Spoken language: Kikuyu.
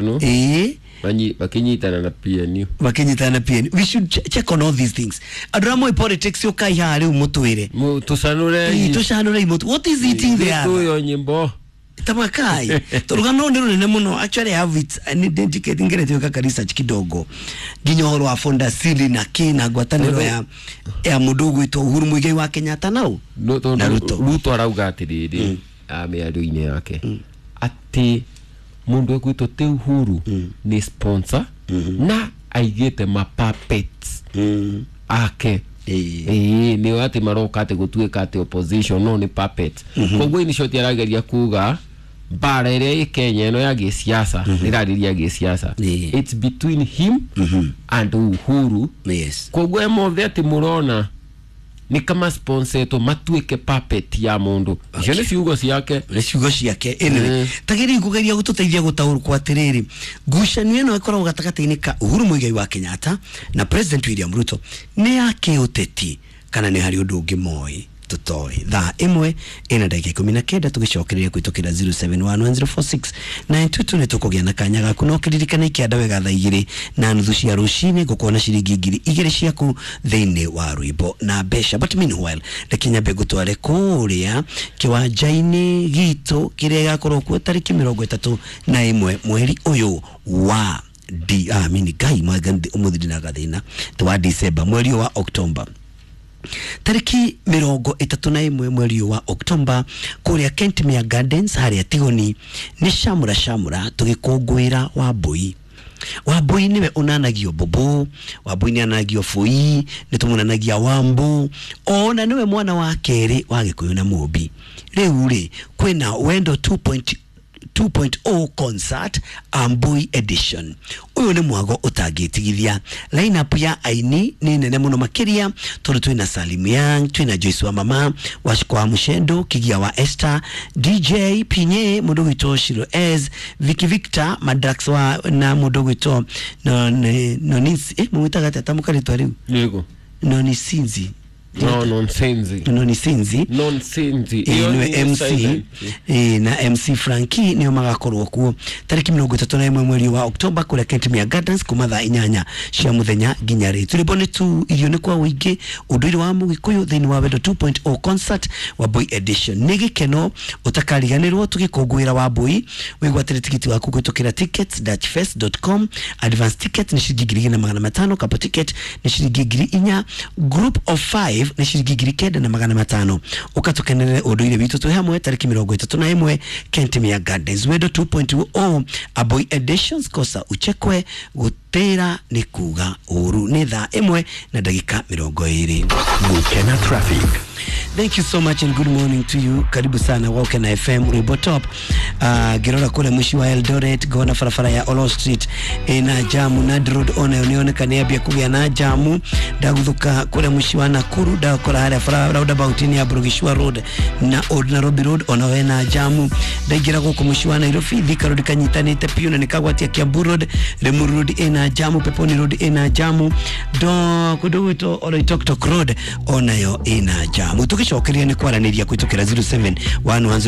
No? Ĩĩ. Makinyitana na PNU. Makinyitana na PNU. We should check on all these things. Andũ arĩa moĩ politics, ũkai haha rĩu mũtwĩre. Tũcanũre. Ĩĩ, tũcanũrei mũtũ. What is eating the other? Tuyo nyimbo. Tamakai tũrũgano rũrũ nĩ rũnene mũno. Actually, I have it nĩ ngeretie gwĩka research kidogo nginya ũhoro wa Fondasili na kĩ na ngwatanĩro ya mũndũ ũgwĩtwo Uhuru Muigai wa Kenyatta nau No, tondũ na Ruto. Ruto arauga atĩrĩrĩ mĩario-inĩ yake atĩ mũndũ egwĩtwo ti Uhuru nĩ sponsor na aigĩte mapuppets ake. Ĩĩ, nĩo atĩ maroka atĩ gũtuĩka atĩ opposition no nĩ puppet. Koguo in short arageria kuga mbara ĩrĩa ĩ Kenya ĩno ya gĩsiasa, nĩrarĩria gĩsiasa, it's between him and Uhuru. Koguo mothe atĩ mũrona nĩ kama sponsetwo matuĩke puppet ya mũndũ. Icio nĩ ciugo ciake. Nĩ ciugo ciake. Anyway, tagĩrĩi kũgeria gũtũteithia gũtaũrwo atĩrĩrĩ, ngucanio ĩno ĩkoragwo gatagatĩ-inĩ ka Uhuru Muigai wa Kenyatta na President William Ruto nĩ ya kĩũteti kana nĩ harĩ ũndũ ũngĩ moĩ tũtoĩ? Thaa 1 ĩna ndagĩka 19, tũgĩcokereria kũhĩtũkĩra 0711046922 nĩ tũkũgĩa na kanya gaku. No kĩririkane ikĩanda wega, thaa 2:30 cia rũcinĩ ngũkuona ciringi 2000 ciaku thĩinĩ wa rwĩmbo na mbeca. But meanwhile, reke nyambe ngũtware kũrĩa kĩwanja-inĩ gitũ kĩrĩa gĩgakorwo kuo tarĩki 31 mweri ũyũ wa D, ah, mini ngai ũmũthĩ ndina gathĩna ti wa December, mweri ũyũ wa October, tarĩki 31 mweri ũyũ wa Oktomba, kũrĩa Kentmere Gardens harĩa Tigoni, nĩ shamra shamra tũgĩkũngũĩra Wambui. Wambui nĩwe ũnanagio mbũmbũ, Wambui nĩ ananagio bũi, nĩ tũmunanagia Wambu, ona nĩwe mwana wa kerĩ wa Gĩkũyũ na Mũmbi. Rĩu rĩ kwĩna Wendo 2.0 concert Ambui edition. Ũyũ nĩ mwago ũtangĩtigithia. Lineup ya aini nĩ nene mũno makĩria, tondũ twĩna Salim Young, twĩna Joyce wa Mama Wachiko wa Mushendo, Kigia wa Esther, DJ Pinye, mũndũ gwĩtwo Shiro S, Vicky Victor Madrax wa na mũndũ gwĩtwo no no mũmwĩtaga atĩa tamũka rĩtwa rĩu? Nĩguo. Nonisinzi. No, nonsense. Nonisinzi. Nonsense. Ĩĩ, nĩwe MC. Ĩĩ, na MC Franki nĩo magakorwo kuo tarĩki 31 mweri wa Oktoba kũrĩa Kentmere Gardens kuma thaa 8 cia mũthenya nginya rĩ. Tũrĩmbo nĩ tu, irio nĩ kwa ũingĩ, ũndũire wa Mũgĩkũyũ thĩinĩ wa Wendo 2.0 concert Wambui edition. Nĩ gĩkeno ũtakariganĩrwo tũgĩkũngũĩra Wambui. Wĩgwatĩre tigiti waku kũhĩtũkĩra tickets-fest.com. Advance ticket nĩ ciringi 2500, couple ticket nĩ ciringi 4000, group of 5 nĩ ciringi 9500. Ũkatũkenerere ũndũire witũ twĩ hamwe tarĩki 31 Kentmere Gardens, Wendo 2.0 Aboy editions. Kosa uchekwe, gũtĩra nĩ kuga ũru. Nĩ thaa 1 na ndagĩka 20. Gukena Traffic. Thank you so much and good morning to you. Karibu sana Wakena FM Rwimbo Top. Ngirora kule mwishi wa Eldoret ngona barabara ya Olo Street ina jamu, Nandi Road onayo nioneka nĩ ambia kũgĩa na jamu. Ndaguthuka kule mwishi wa Nakuru ndakora harĩa barabara roundabout-inĩ ya Burugishua Road na Old Nairobi Road onayo ĩna jamu. Ndaingĩra gũkũ mũciĩ wa Nairobi, Thika Road kanyitanĩte piũ na nĩkagwatia Kiambu Road, Limuru Road ĩna jamu, Peponi Road ĩna jamu, ndo kũndũ gwĩtwo Oloitoktok Road onayo ĩna jamu. Tũgĩcokeria nĩ kwaranĩria kũhĩtũkĩra 0711.